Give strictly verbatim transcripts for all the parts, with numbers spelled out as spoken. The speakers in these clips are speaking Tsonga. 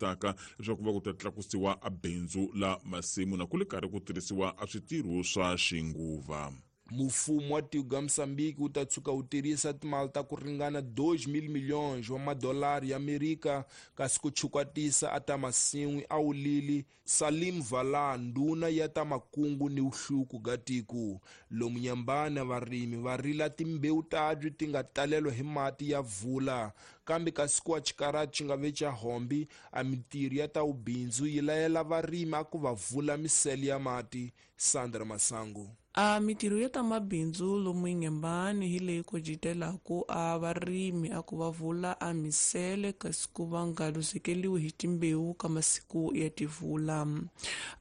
taka leswaku va ku ta tlakusiwa a bindzu la masimu na ku le karhi ku tirhisiwa a switirho swa xinguva. Mfumo wa tiko ga Moçambique wu ta tshuka wu tirhisa timali ta ku ringana dois mil milhões wa madolari ya Amerika kasi ku chukwatisa a ta masin'wi a wulili Salim Vala, ndhuna ya ta makungu ni vuhluku ga tiko. Lomu Nyambana varimi va rila timbewu tabyi ti nga talelwa hi mati ya vula, kambe kasi ku wa xikarati xi nga ve xa hombi a mintirho ya ta vubindzu yi layela varimi a ku va vula misele ya mati. Sandra Masango. A mintirho ya ta mabindzu lomu Inhambane hi leyi kojitelaku a varimi a ku va vula a misele kasi ku va nga luzekeliwi hi timbewu ka masiku ya tivula.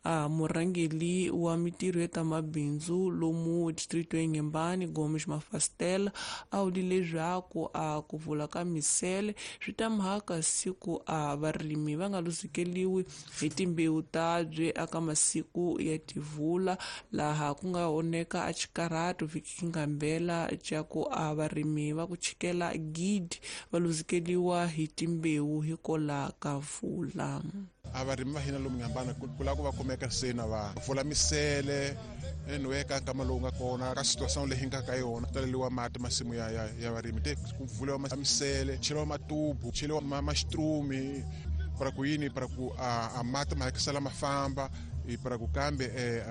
A murhangeli wa mintirho ya ta mabindzu lomu distrito ya Inhambane, Gomes Mafastela, a vule leswaku a ku vula ka misele swi ta mhaka siku a varimi va nga luzekeliwi hi timbewu tabye aka masiku ya tivula, laha ku nga oneka a xikarhato vhiki ngambela xa ku a varimi va ku chikela gidi va luzekeliwa hi timbewu hikola ka vula. A varimi va hina lomu Inhambane ku lava ku va kumeka se na va pfula misele anyway ka nkama lowu nga kona ka situation leyi nga ka yona taleliwa mati masimu ya ya ya varimi te ku pfuliwa misele cheliwa matubu cheliwa maxitrumi para ku yini para ku a mati ma hakisela ma famba para ku kambe eh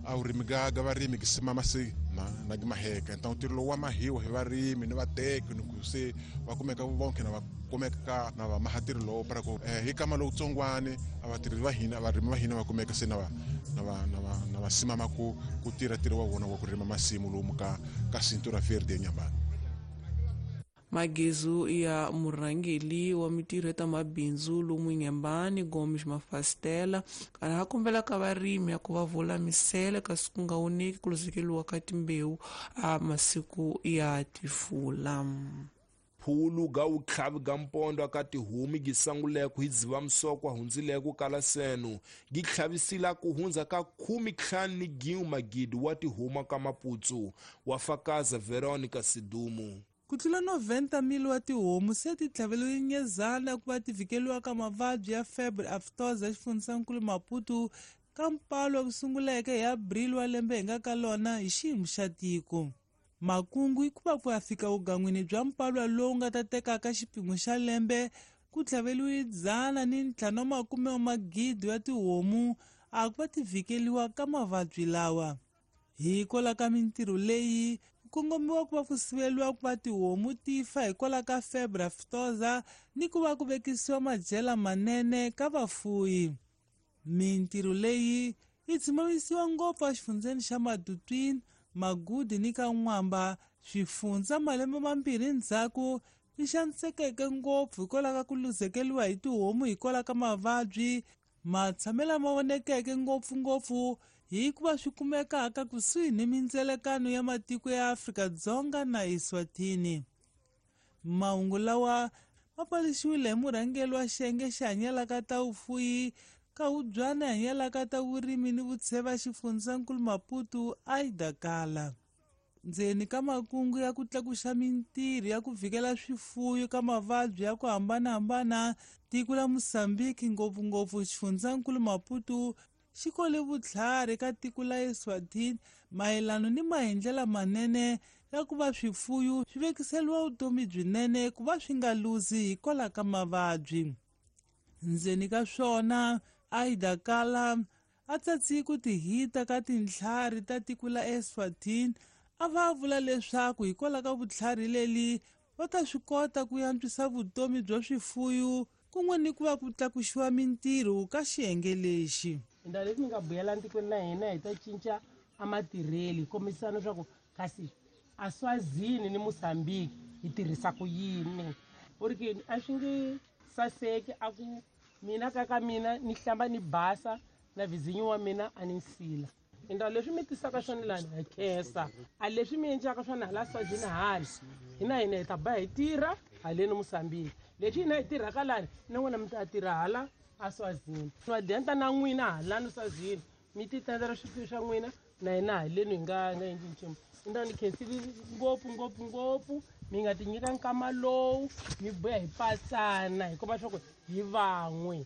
a vurimi ga ga varimi ki simama se na na gi maheka. Então ntirho lowu wa mahiwa hi varimi ni vateki ni ku se va kumeka vonke na va kumeka na va maha ntirho lowu para ku hi kama lowutsongwani a vatirhi va hina varimi va hina va kumeka se na va na va na va na va simama ku ku tirha ntirho wa vona wa ku rima masimu lomu ka ka Cintura Verde eNyambana. Magezu ya murhangeli wa mintirho ya ta mabindzu lomu Inhambane, Gomes Mafastela, kana ha kombela ka varimi ya ku va vula misele kasi ku nga oneki ku luzekeliwa ka timbewu a masiku ya tifula. Phulu ga vutlhavi ga mpondo ka tihomu gi sanguleko hi Dzivamisoko hundzileko kala seno gi tlhavisila ku hundza ka khume ntlhanu ni gin'we magidi wa tihomu ka Maputsu, wa fakaza Veronica Sidumo. Ku tlula noventa mil wa tihomu se ti tlhaveliwe nyezana ku va ti vhikeliwa ka mavabyi ya febre aftosa exifundzhankulu Maputo ka mpalo ku sunguleke hi Abril wa lembe hi nga ka lona hi xiyimo xa tiko. Makungu i ku va ku ya fika vugan'wini bya mpalwa lowu nga ta tekaka xipimo xa lembe ku tlhaveliwe dzana ni ntlhanu wa makume wa magidi ya tihomu a ku va ti vhikeliwa ka mavabyi lawa. Hikwalaho ka mintirho leyi kongomiwa ku va ku siveliwa ku va tihomu ti fa hikwalaho ka febre aftosa ni ku va ku vekisiwa madyela manene ka vafuyi. Mintirho leyi yi tshimamisiwa ngopfu exifundzheni xa Matutuine, Magudi ni ka N'wamba, swifundza malembe mambirhi ndzhaku yi xanisekeke ngopfu hikwalaho ka ku luzekeliwa hi tihomu hikwalaho ka mavabyi matshamelo ma vonekeke ngopfungopfu hikuva swi kumekaka kusuhi ni mindzelekano ya matiko ya Afrika-Dzonga na Eswatini. Mahungu lawa ma paluxiwile hi murhangeri wa xiyenge xi hanyelaka ta vufuyi ka Hubyana hanyelaka ta vurimi ni vutsheva xifundzankulu Maputo, Aida Kala. Ndzeni ka makungu ya ku tlakuxa mintirho ya ku vhikela swifuyo ka mavabyi ya ku hambanahambana, tiko la Mozambique ngopfungopfu xifundzankulu Maputo xi kole vutlhari ka tiko la Eswatini mayelana ni maendlelo manene ya ku va swifuyo swi vekiseliwa vutomi byinene ku va swi nga luzi hikwalaho ka mavabyi. Ndzeni ka swona, Aida Kala a tsatsi ku tihita ka tintlhari ta tiko la Eswatini a va vula leswaku hikwalaho ka vutlhari leli va ta swi kota ku antswisa vutomi bya swifuyo kun'we ni ku va ku tlakuxiwa mintirho ka xiyenge lexi. Ndhawu leti mi nga buyela ntikweni na hina hi ta cinca a matirheli hi kombisana leswaku kasi a Swazini ni Mozambique hi tirhisa ku yini. U ri ke a swi nge saseki a ku mina ka ka mina ni hlamba ni basa na vizinyo wa mina a ni nsila. Ndhawu leswi mi tisaka swona lani hi khensa, a leswi mi endlaka swona hala Swazini hala hina hina hi ta ba hi tirha haleni Mozambique, leswi hina hi tirhaka lani na n'wina mi ta tirha hala a Swazini. Va denta na n'wina halani Swazini mi ti tendela swifuwo swa n'wina na hina haleni hi nga nga endli nchumu. Ndhawu ni khensile ngopfu ngopfu ngopfu mi nga ti nyika nkama lowu mi boya hi pasana hi komba swa ku hi van'we.